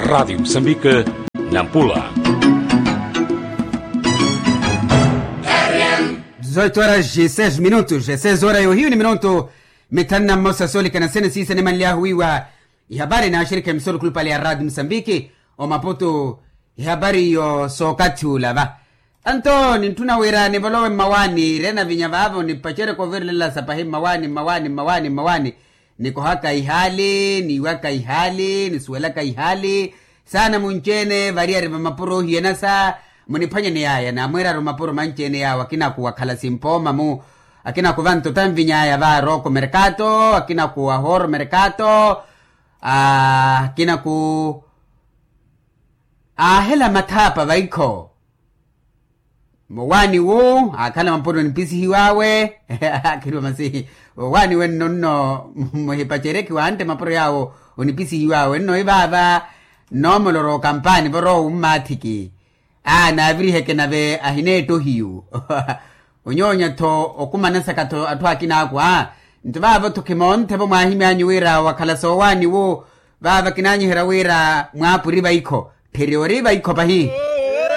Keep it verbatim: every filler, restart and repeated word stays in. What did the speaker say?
Rádio Moçambique, Nampula. Dezoito horas e seis minutos, e seis horas e ohiyu ni minutu mithanu na mmosa soolikana sene siisa nimanly'ahu wiiwa ihapari n'axirikhi emisoro khulupale ya Rádio Moçambique, omaputu ihapari iyo sookathi ula va. Anto nintthuna wira nivolowe mmawaani ire navinya vaavo nipacereke ovirelela sapahi mmawaani mmawaani mmawaani mmawaani. Nikohaka ihaali niiwaka ihaali nisuwelaka ihaali. Saana munci-ene variyari va mapuro ohiyanasa muniphwanyeni yaya naamwiiraru mapuro manci-ene yaawo akina kuwakhala simpooma-mu. Akina kuva ntota nvinyaya va rooko merkato akina kuwa hooro merkato. Akina ku aahela mathaapa vaikho. Mowaani wu aakhala mapuro onipisihiw'awe. Akhiriwa masi wowaani wenno nno muhipacerekiwa antte mapuro yaawo onipisihiw'awe nno ivaava. Nnoomoloro okampaani vorowa wummaathiki. Aa naaviriheke nave ahineetta ohiyu. Onyoonya-tho okumanasaka-tho atthu akina akwa. Nto vaavo-tho khimoonthe-vo mwaahimyaanyu wira wakhala soowaani wu vaava kinaanyiherya wira mwaapuri vaikho. Tthiri ori vaikho pahi.